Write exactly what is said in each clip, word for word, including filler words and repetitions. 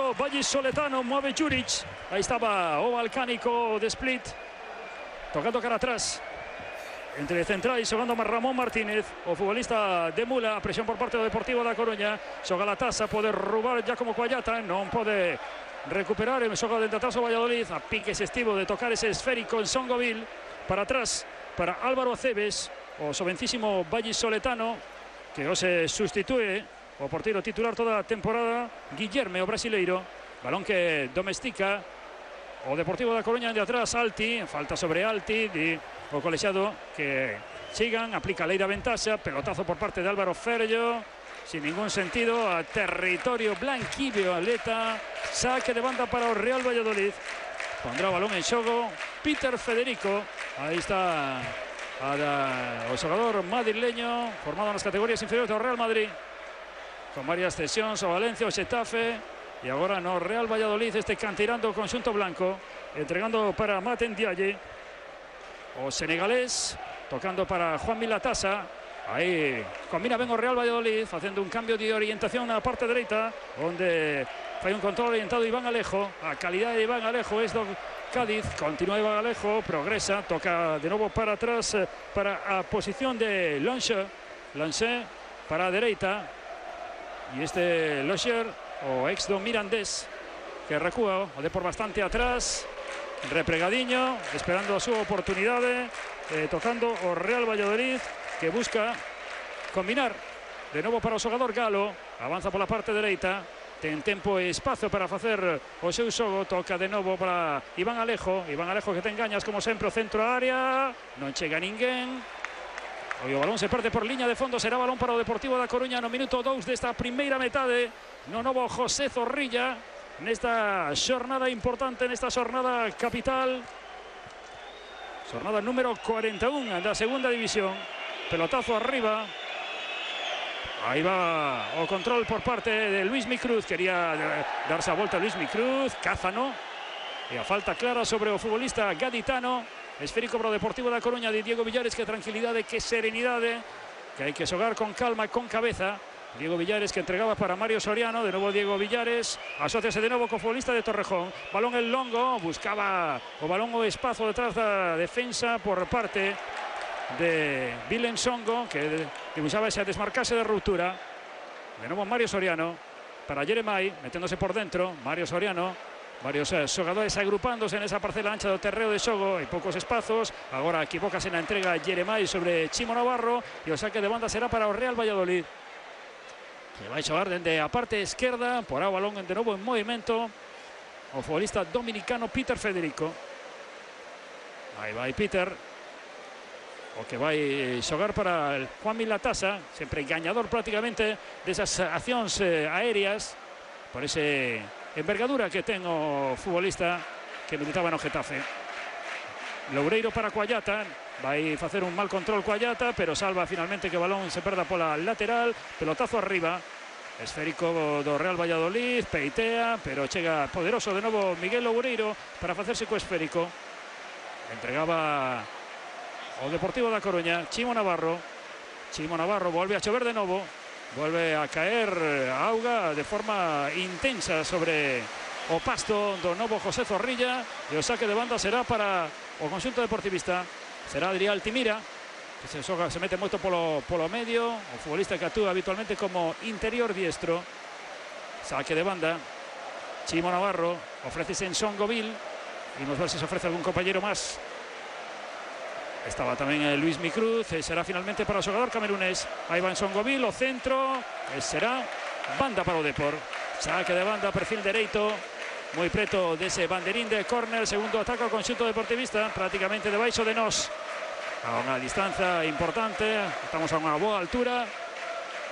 segundo vallisoletano, mueve Juric. Ahí estaba o Balcánico de Split, tocando cara atrás. Entre central y xogando Ramón Martínez, o futbolista de Mula, a presión por parte do Deportivo da Coruña. Xoga la taza, pode roubar Giacomo Cuallata, non pode recuperar, xoga dentro atrás o Valladolid, a piques estivo de tocar ese esférico en Songoville, para atrás, para Álvaro Aceves, o jovencísimo vallisoletano, que o se sustitúe o porteiro titular toda a temporada, Guillerme, o brasileiro. Balón que domestica o Deportivo da Coruña de atrás, Alti, falta sobre Alti, de o colexiado que sigan, aplica lei da ventaxa, pelotazo por parte de Álvaro Ferello, sin ningún sentido, a territorio blanquillo, atleta, saque de banda para o Real Valladolid. Pondrá o balón en xogo Peter Federico, aí está a da, o xogador madrileño, formado nas categorías inferiores do Real Madrid, con varias cesións o Valencia, o Xetafe, e agora no Real Valladolid, este canteirando o conxunto blanco, entregando para Maten Dialle, o senegalés, tocando para Juan Milatasa. Aí combina ben o Real Valladolid, facendo un cambio de orientación na parte dereita, onde fai un control orientado Iván Alejo. A calidade de Iván Alejo es do Cádiz. Continúa Iván Alejo, progresa, toca de novo para atrás, para a posición de Lange. Lange para a dereita, e este Locher, o ex do Mirandés, que recúa, o de por bastante atrás, repregadiño, esperando a súa oportunidade, eh, tocando o Real Valladolid, que busca combinar de novo para o xogador Galo. Avanza pola parte dereita, ten tempo e espazo para facer o seu xogo. Toca de novo para Iván Alejo, Iván Alejo que ten gañas como sempre, o centro a área, non chega ninguén. O balón se perde por liña de fondo, será balón para o Deportivo da Coruña no minuto dous desta primeira metade, no novo José Zorrilla, nesta xornada importante, nesta xornada capital, xornada número cuarenta y uno da segunda división. Pelotazo arriba, aí va o control por parte de Luis Micruz, quería darse a volta a Luis Micruz, Cázano, e a falta clara sobre o futbolista gaditano. Esférico para o Deportivo da Coruña de Diego Villares, que tranquilidade, que serenidade, que hai que xogar con calma e con cabeza. Diego Villares que entregaba para Mario Soriano, de novo Diego Villares, asóciase de novo co futbolista de Torrejón, balón en longo, buscaba o balón o espazo detrás da defensa por parte de Vilen Songo, que dibuixaba esa desmarcase de ruptura. De novo Mario Soriano para Jeremai, meténdose por dentro, Mario Soriano, varios eh, xogadores agrupándose nesa parcela ancha do terreo de xogo, e poucos espazos. Agora equivócase na entrega Jeremai sobre Chimo Navarro, e o saque de banda será para o Real Valladolid, que vai xogar dende a parte esquerda, porá o balón de novo en movimento o futbolista dominicano Peter Federico. Aí vai Peter, o que vai xogar para el Juan Milatasa, sempre gañador prácticamente desas accións eh, aéreas, por ese envergadura que ten o futbolista que militaba no Getafe. Loureiro para Cuallata, vai facer un mal control Cuallata, pero salva finalmente que o balón se perda pola lateral. Pelotazo arriba, esférico do Real Valladolid, peitea, pero chega poderoso de novo Miguel Loureiro para facerse co esférico. Entregaba o Deportivo da Coruña, Chimo Navarro. Chimo Navarro volve a chover de novo, volve a caer a auga de forma intensa sobre o pasto do novo José Zorrilla, e o saque de banda será para o conxunto deportivista. Será Adrián Altimira, que se, soga, se mete moito polo, polo medio, o futbolista que actúa habitualmente como interior diestro. Saque de banda, Chimo Navarro, ofrece en Songoville, y vamos a ver si se ofrece algún compañero más. Estaba tamén eh, Luis Micruz, e será finalmente para o xogador camerunés. Aí va en Songoville, o centro, e será banda para o Depor. Saque de banda, perfil dereito, moi preto dese banderín de córner. Segundo ataque ao conxunto deportivista, prácticamente debaixo de nós, a unha distancia importante, estamos a unha boa altura,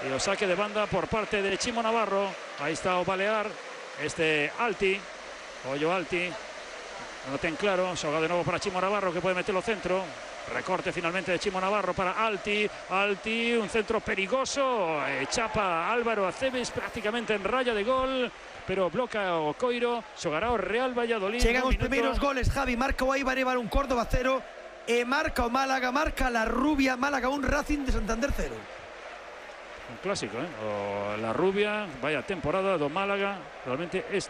e o saque de banda por parte de Chimo Navarro. Aí está o Balear, este Alti, ollo Alti, non ten claro, xoga de novo para Chimo Navarro, que pode meter o centro. Recorte finalmente de Chimo Navarro para Alti, Alti, un centro perigoso, e chapa Álvaro Aceves prácticamente en raya de gol, pero bloca o Coiro. Xogará o Real Valladolid. Chegan os primeiros goles, Javi. Marca o Eibar, Eibar un, Córdoba cero, e marca o Málaga, marca la Rubia, Málaga un, Racing de Santander cero. Un clásico, eh? O la Rubia, vaya temporada do Málaga, realmente es